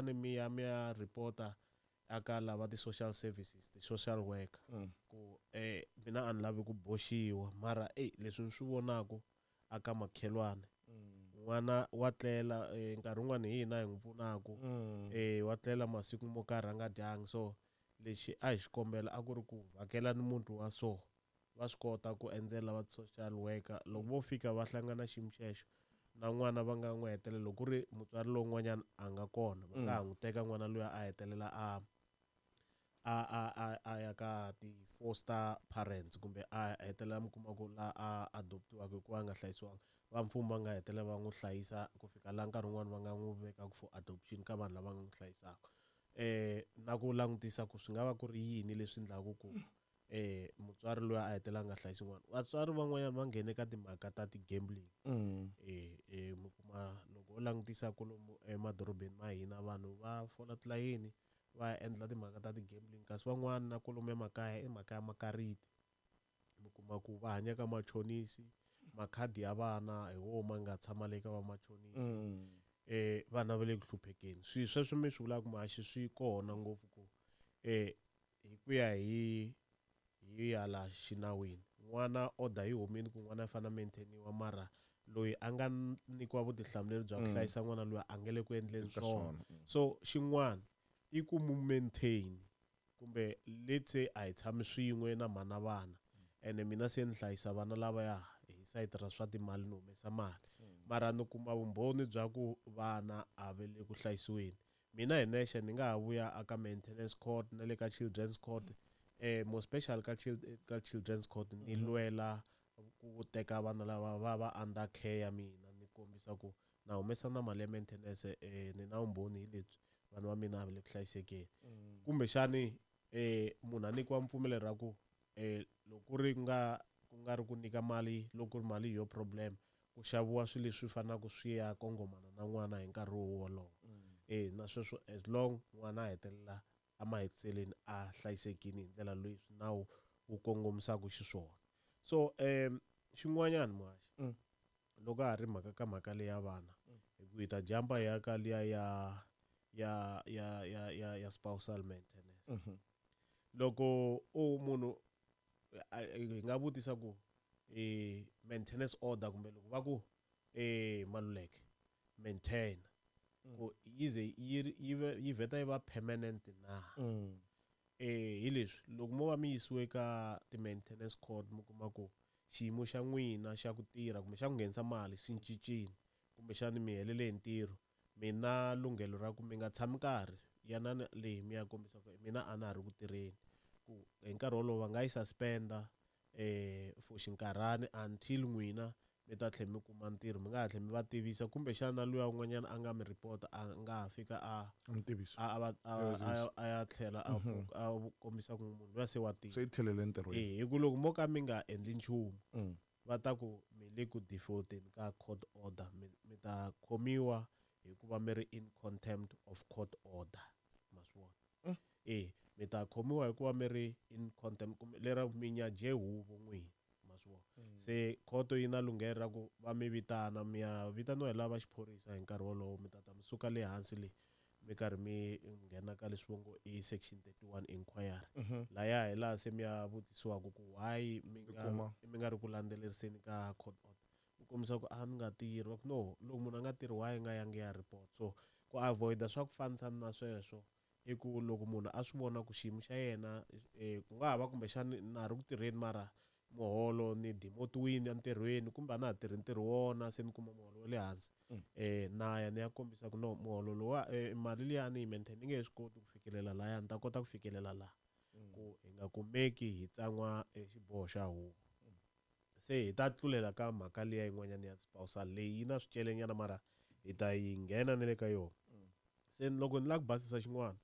Kumbexani mi ya mi ya report-a aka lava ti-social services, ti-social worker, ku mina a ni lavi ku boxiwa, mara eyi, leswi ni swi vonaku aka makhelwani, n'wana wa tlela, nkarhi wun'wani hi hina hi n'wi pfunaku, wa tlela masiku mo karhi a nga dyangi. So lexi a hi xi kombela a ku ri ku vhakelani muti wa so. Va swi kota ku endzela va social worker. Loko vo fika va hlangana xiyimo xexo na n'wana, va nga n'wi hetelela, loko ku ri mutswari lowun'wanyana a nga kona, va nga ha n'wi teka n'wana luya, a hetelela a ya ka ti-foster parents, kumbe a hetelela mi kuma ku la a adoptiwaka hikuva a nga hlayisiwanga. Va mfumo va nga hetelela va n'wi hlayisa ku fika laha nkarhi wun'wani va nga n'wi vekaka for adoption ka vanhu lava nga n'wi hlayisaka, na ku langutisa ku swi nga va ku ri yini leswi endlaku ku mutswari loyi a hetelela a nga hlayisi n'wana. Vatswari van'wanyana va nghene ka timhaka ta ti-gambling. Mi kuma loko u langutisa kolomu emadorobeni ma hina, vanhu va fola tilayini va ya endla timhaka ta ti-gambling, kasi van'wana na kolomu emakaya i mhaka ya makariti. Mi kuma ku va hanya ka machonisi, makhadi ya vana hi wo ma nga tshama le ka vamachonisi. Vana va le ku hluphekeni. Swilo sweswo mi swi vulaka, muhaxi, swi kona ngopfu ku hi ku ya hi hala xinawini, n'wana order yi humile ku n'wana a fanele a maintainiwa, mara loyi a nga nyikiwa vutihlamuleri bya ku hlayisa n'wana loyi a nge le ku endleni Eka swona. swona. So xin'wana i ku mu maintain, kumbe let's say a hi tshami swin'we na mhana vana, ene mina se ni hlayisa vana lavaya hi sayiti ra swa timali, ni humesa mali, mara ni kuma vumbhoni bya ku vana a va le ku hlayisiweni, mina hi nexe ni nga ha vuya aka maintenance court na le ka children's court, more special ka children's court, ni lwela ku teka vana lava va va under care ya mina, ni kombisa ku na humesa na mali ya maintenance, ni na vumbhoni hi lebyi, vanhu va mina a va le ku hlayisekeni. Kumbexani munhu a nyikiwa mpfumelelo ra ku loko ku ri nga ku nga ri ku nyika mali, loko ku ri mali hi yo problem, ku xaviwa swilo leswi faneleke swi ya kongomana na n'wana hi nkarhi wolowo. Na sweswo, as long n'wana a hetelela emahetiseleni a hlayisekile hi ndlela leyi nawu wu kongomisaka xiswona. So xin'wanyana, muhaxi, loko ha ri mhaka ka mhaka leya vana, hi ku hi ta jumpa hi ya ka liya ya spousal maintenance. Loko u munhu hi nga vutisa ku maintenance order, kumbe loko va ku Maluleke maintain, ku yi ze yi vheta yi va permanent na? Hi leswi, loko mo va mi yisiwe ka ti-maintenance court, mi kuma ku xiyimo xa n'wina xa ku tirha kumbe xa ku nghenisa mali xi cincile, kumbexani mi helele hi ntirho, mi na lunghelo ra ku mi nga tshami nkarhi yanani leyi mi ya kombisa ku mina a na ha ri ku tirheni, ku hi nkarhi wolowo va nga yi suspenda for xinkarhani until n'wina mi ta tlhela mi kuma ntirho. Mi nga ha tlhela mi va tivisa, kumbexana luya un'wanyana a nga mi report a nga ha fika a A mi tivisa. a va a A tivisa. a ya tlhela a pfuka a kombisa ku munhu luya se wa tirha. Se yi tlhelele entirhweni. Hi ku loko mo ka mi nga endli nchumu, va ta ku mi le ku defaulteni ka court order, mi ta khomiwa hikuva mi ri in contempt of court order, ma swi vona? Mi ta khomiwa hikuva mi ri in contempt, kumbe lera mi nyaje huvo n'wini, ma swi vona? Se khoto yi na lunghelo ra ku va mi vitana, mi ya vitaniwa hi lava xiphorisa hi nkarhi wolowo, mi ta ta mi suka le hansi le mi karhi mi nghena ka leswi vo ngo i section 31 inquiry. Laya hi laha se mi ya vutisiwaka ku why mi nga Kuma. mi nga ri ku landzeleriseni ka court order, ku kombisa ku a ni nga tirhi. Va ku no, loko munhu a nga tirhi, why nga yangi ya report? So ku avoida swa ku fanisana na sweswo i ku loko munhu a swi vona ku xiyimo xa yena, ku nga ha va kumbexani na ha ri ku tirheni, mara muholo ni demotiwini entirhweni, kumbe a na ha tirhi ntirho wona, se ni kuma muholo wa le hansi, na ya ni ya kombisa ku no, muholo lowa, mali liya ni yi maintain ni nge swi koti ku fikelela laya, ni ta kota ku fikelela laha, ku hi nga kumeki hi tsan'wa xiboho xa huvo. Se hi ta tlulela ka mhaka liya yin'wanyana ya spousal leyi yi na swicelenyana, mara hi ta yi nghena na le ka yona. Se loko ni lava ku basisa xin'wana,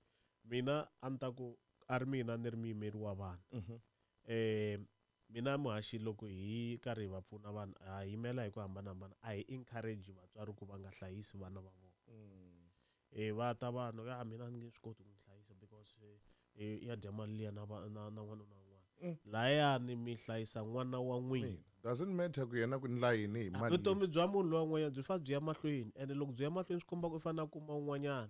mina a ni ta ku a ri mina ni ri muyimeri wa vanhu, mina muhaxi, loko hi karhi hi va pfuna vanhu, ha yimela hi ku hambanahambana, a hi encourage vatswari ku va nga hlayisi vana va vona. Va ta vanhu ya mina ni nge swi koti ku n'wi hlayisa because ya dya mali liya na na n'wanuna un'wana. Layani mi hlayisa n'wana wa n'wina. Doesn't matter ku yena ku ndla yini hi mali. Vutomi bya munhu loyi un'wanyana byi fanele byi ya mahlweni, ene loko byi ya mahlweni swi komba ku i fanele a kuma un'wanyana.